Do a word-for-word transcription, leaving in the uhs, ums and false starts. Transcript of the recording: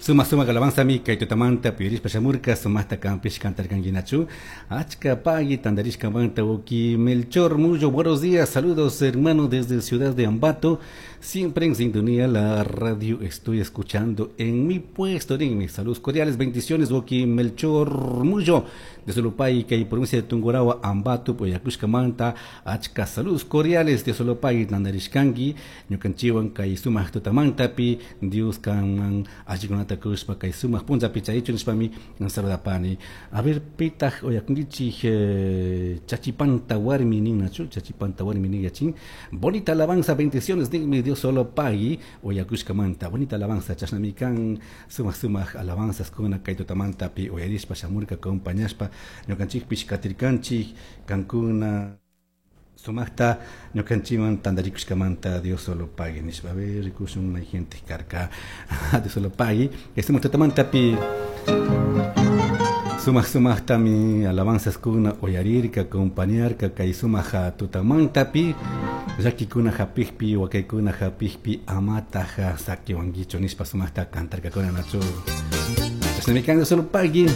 Sumaj sumaj alabanzami kay tutamanta uyarishpa shamurka sumajta kanpish cantarkankinachu. Achka pagui tandarishkamanta wawki Melchor Mullo, buenos días, saludos hermano desde Ciudad de Ambato, siempre en sintonía la radio estoy escuchando en mi puesto, mis saludos cordiales, bendiciones wawki Melchor Mullo de Solopay kay provincia de Tungurahua, Ambato, Poyacushkamanta, achka saludos cordiales de Solopay tandarishkanki, ñukanchikwan kay sumaq tutamantapi, Dios kanman allikunata kushpa kay sumaq punllapi chaychu nishpami saludapani. A ver, pitaj oyakunkichik eh, chachipanta warmi ninnachu, chachipanta warmi nin yachin. Bonita alabanza, bendiciones ninmi Dios solo pagui oyakushkamanta. Bonita alabanza, chashnami kan sumaq sumaq alabanzas kuna kay tutamantapi uyarishpa shamurka acompañashpa ñukanchikpish katirkanchik kankuna sumaqta ñukanchikwan tantarikushkamanta Dios solo pagui nishpa. A ver, rikushun mayjintik karka Dios solo pagui. Sumaq tutamantapi sumaq sumaqtami alabanzas kuna uyarirka acompañarka kay sumaq tutamantapi llakikuna hapikpi wakaykuna hapikpi amataja sakiwankichu nishpa sumaqta cantarkakuna nachu. Chashnami kan Dios solo pagui.